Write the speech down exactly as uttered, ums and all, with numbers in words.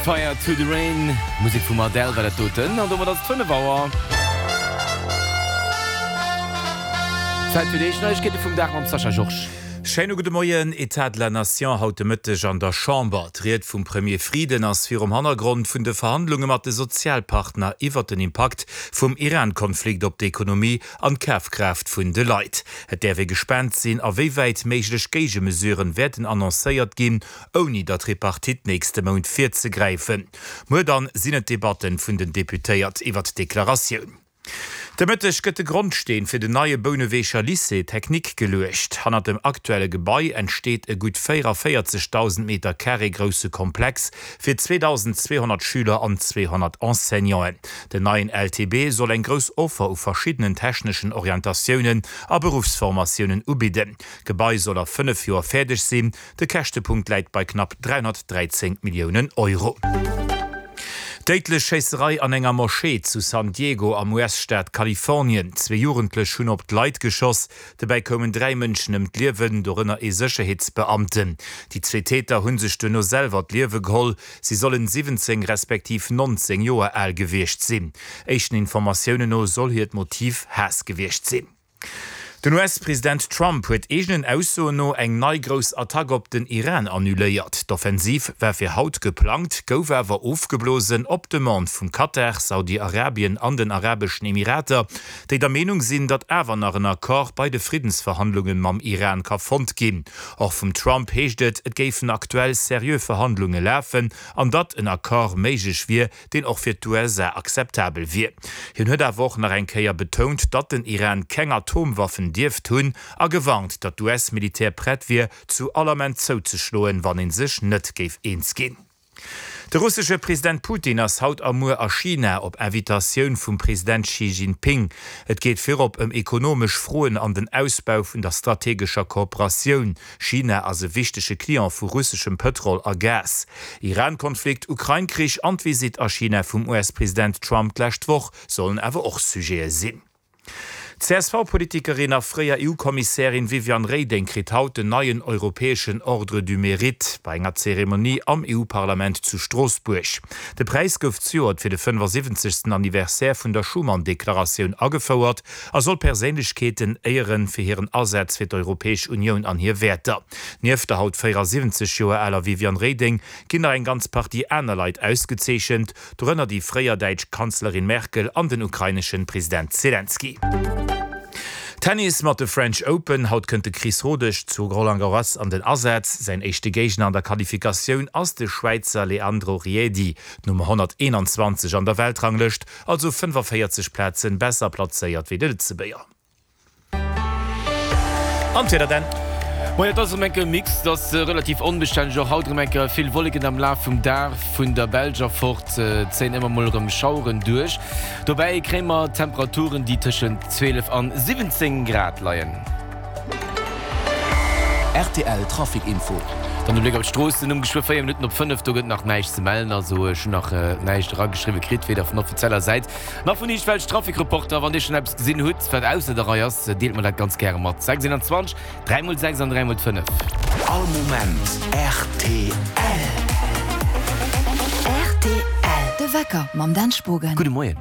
Fire to the Rain, Musek vum Adele war dat doten. An domat ass et fënnef Auer. Zäit fir déi éischt Neiegkeete vum Dag mam Sascha Georges. Schéine gudde Moien. État de la Nation haut de Mëtteg an der Chamber. D'Ried vum Premier Frieden ass virum Hannergrond vun de Verhandlunge mat de Sozialpartner iwwert den Impakt vum Iran-Konflikt op d'Ekonomie an d'Kafkraaft vun de Leit. Et däerf ee gespaant sinn, a wéi wäit méiglech Géigemesuren wäerten annoncéiert ginn, ouni der Tripartite nächste Mount virzegräifen. Muer dann sinn et d'Debatten vun den Deputéiert iwwert d'Deklaratioun. De Mëtteg gëtt de Grondsteen fir den neie Bouneweger Lycée technique geluecht. Hannert dem aktuelle Gebai entsteet e gutt véierundavéierzegdausend Meter Carré grousse Komplex fir zweedausendzweehonnert Schüler an zweehonnert Enseignanten. Den neien L T B soll eng grouss Offer u verschiddenen techneschen Orientatiounen a Beruffsformatiounen ubidden. D'Gebai soll a fënnef Joer fäerdeg sinn. De Käschtepunkt läit bei knapp dräihonnertdräizéng Milliounen Euro. Déidlech Schéisserei an enger Moschee zu San Diego am U S-Staat Kalifornien. Zwee Jugendlech hunn op d'Leit geschoss. Dobäi koumen dräi Mënschen ëm d'Liewen, dorënner ee Sécherheetsbeamten. Déi zwee Täter hu sech duerno selwer d'Liewe geholl. Si sollen siwwenzéng respektiv nonzéng Joer al gewiescht sinn. Éischten Informatiounen no soll hiert Motiv Haass gewiescht sinn. Den U S-President Trump huet eegenen Aussoen no eng nei grouss Attack op den Iran annuléiert. D'Offensiv war fir haut geplangt, gouf awer ofgeblosen op Demande vum Katar, Saudi-Arabien an den Arabeschen Emirater, déi der Meenung sinn, datt awer nach en Accord bei de Friddensverhandlunge mam Iran ka fonnt ginn. Och vum Trump heescht et, et géifen aktuell seriö Verhandlunge lafen an datt en Accord méiglech wier, deen och fir d'U S A akzeptabel wier. Hien huet awer och nach eng Kéier betount, datt den Iran keng Atomwaffen dierft hunn a gewarnt, datt d'U S-Militär prett wier, zu all Ament zouzeschloen, wann ee sech net géif eens ginn. De russesche President Putin ass haut a muer a China op Invitatioun vum President Xi Jinping. Et geet virop ëm ekonomesch Froen an den Ausbau vun der strategescher Kooperatioun. China ass e wichtege Client vu russeschem Pëtrol a Gas. Iran-Konflikt, Ukrain-Krich an d'Visitt a China vum U S-President Trump d'lescht Woch sollen awer och Sujete sinn. D'C S V-Politikerin a fréier E U-Kommissärin Viviane Reding kritt haut den neien europäeschen Ordre du Mérite bei enger Zeremonie am E U-Parlament zu Stroossbuerg. De Präis gouf zejoert fir de fënnefasiwwenzegsten Anniversaire vun der Schuman-Deklaratioun agefouert a soll Perséinlechkeeten éieren fir hiren Asaz fir d'Europäesch Unioun an hir Wäerter. Nieft der haut véierasiwwenzeg Joer aler Viviane Reding ginn nach eng ganz Partie aner Leit ausgezeechent, dorënner déi fréier däitsch Kanzlerin Merkel an den ukraineschen President Selenskyj. Tennis mat de French Open, Haut kënnt de Chris Rodesch zu Roland Garros an den Asaz. Säin éischte Géigner an der Qualifikatioun ass de Schwäizer Leandro Riedi, d'Nummer honnerteenanzwanzeg an der Weltranglëscht, also fënnefaféierzeg Plazen besser plazéiert wéi de Lëtzebuerger. An d'Wieder dann. Moien, et ass erëm enke Mix, et ass relativ onbestänneg och haut erëm enke vill Wolleken am Laf vum Dag. Vun der Belsch erfort zéien ëmmer mol erëm Schaueren duerch. Dobäi kréie mer Temperaturen, déi tëschent zwielef an siwwenzéng Grad leien. R T L Trafic Info. Dann de Bléck op d'Stroossen um geschwë véier Minutten op fënnef. Do gëtt nach näischt ze mellen, also ech hunn nach näischt erageschriwwe kritt, weder vun offizieller Säit nach vun iergendwelch Trafic-Reporter. Wann Dir schonn eppes gesinn hutt, wat ausser der Rei ass, deelt mer dat ganz gäre mat. Sechs eenanzwanzeg, dräi mol sechs an dräi mol fënnef. All Moment R T L. R T L, de Wecker mam Dan Spogen. Gudde Moien.